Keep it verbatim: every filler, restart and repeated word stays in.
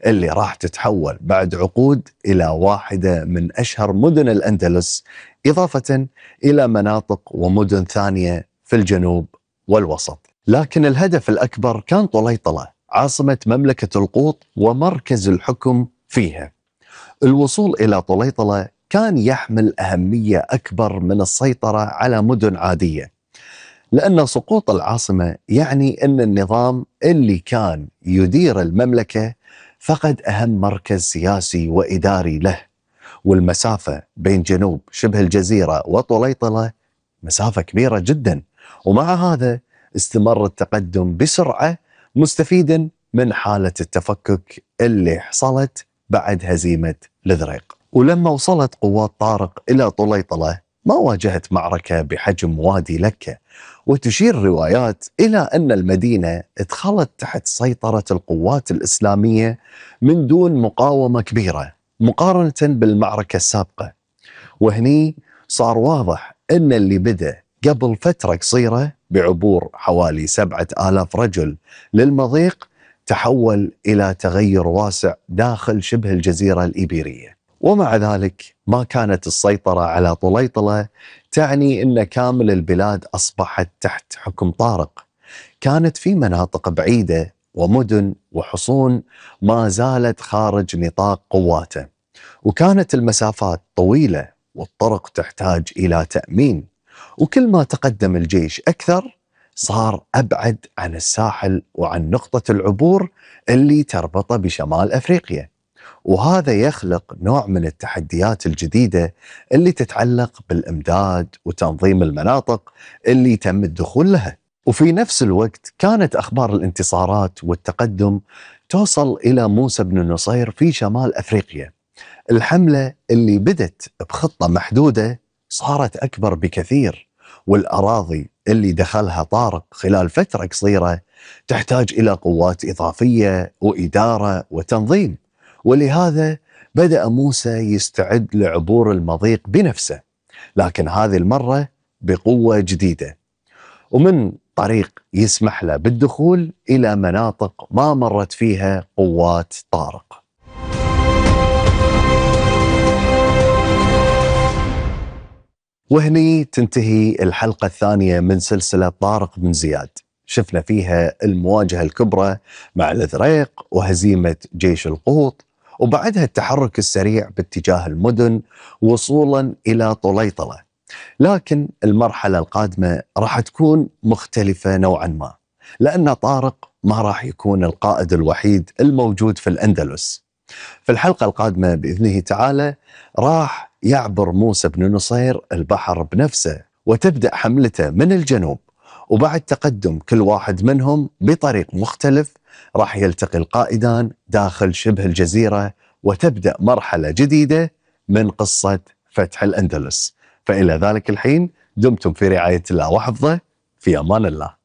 اللي راح تتحول بعد عقود إلى واحدة من أشهر مدن الأندلس، إضافة إلى مناطق ومدن ثانية في الجنوب والوسط. لكن الهدف الأكبر كان طليطلة، عاصمة مملكة القوط ومركز الحكم فيها. الوصول إلى طليطلة كان يحمل أهمية أكبر من السيطرة على مدن عادية، لأن سقوط العاصمة يعني أن النظام اللي كان يدير المملكة فقد أهم مركز سياسي وإداري له. والمسافة بين جنوب شبه الجزيرة وطليطلة مسافة كبيرة جدا، ومع هذا استمر التقدم بسرعة، مستفيدا من حالة التفكك اللي حصلت بعد هزيمة الإذريق. ولما وصلت قوات طارق إلى طليطلة ما واجهت معركة بحجم وادي لكة، وتشير روايات إلى أن المدينة ادخلت تحت سيطرة القوات الإسلامية من دون مقاومة كبيرة مقارنة بالمعركة السابقة. وهني صار واضح أن اللي بدأ قبل فترة قصيرة بعبور حوالي سبعة آلاف رجل للمضيق تحول إلى تغير واسع داخل شبه الجزيرة الإيبيرية. ومع ذلك ما كانت السيطرة على طليطلة تعني أن كامل البلاد أصبحت تحت حكم طارق. كانت في مناطق بعيدة ومدن وحصون ما زالت خارج نطاق قواته، وكانت المسافات طويلة والطرق تحتاج إلى تأمين. وكل ما تقدم الجيش أكثر صار أبعد عن الساحل وعن نقطة العبور اللي تربطه بشمال أفريقيا، وهذا يخلق نوع من التحديات الجديدة اللي تتعلق بالإمداد وتنظيم المناطق اللي تم الدخول لها. وفي نفس الوقت كانت أخبار الانتصارات والتقدم توصل إلى موسى بن نصير في شمال أفريقيا. الحملة اللي بدت بخطة محدودة صارت أكبر بكثير، والأراضي اللي دخلها طارق خلال فترة قصيرة تحتاج إلى قوات إضافية وإدارة وتنظيم. ولهذا بدأ موسى يستعد لعبور المضيق بنفسه، لكن هذه المرة بقوة جديدة، ومن طريق يسمح له بالدخول إلى مناطق ما مرت فيها قوات طارق. وهني تنتهي الحلقة الثانية من سلسلة طارق بن زياد. شفنا فيها المواجهة الكبرى مع الإذريق وهزيمة جيش القوط، وبعدها التحرك السريع باتجاه المدن وصولا إلى طليطلة. لكن المرحلة القادمة راح تكون مختلفة نوعا ما، لأن طارق ما راح يكون القائد الوحيد الموجود في الأندلس. في الحلقة القادمة بإذنه تعالى راح يعبر موسى بن نصير البحر بنفسه، وتبدأ حملته من الجنوب، وبعد تقدم كل واحد منهم بطريق مختلف راح يلتقي القائدان داخل شبه الجزيرة، وتبدأ مرحلة جديدة من قصة فتح الأندلس. فإلى ذلك الحين دمتم في رعاية الله وحفظه، في أمان الله.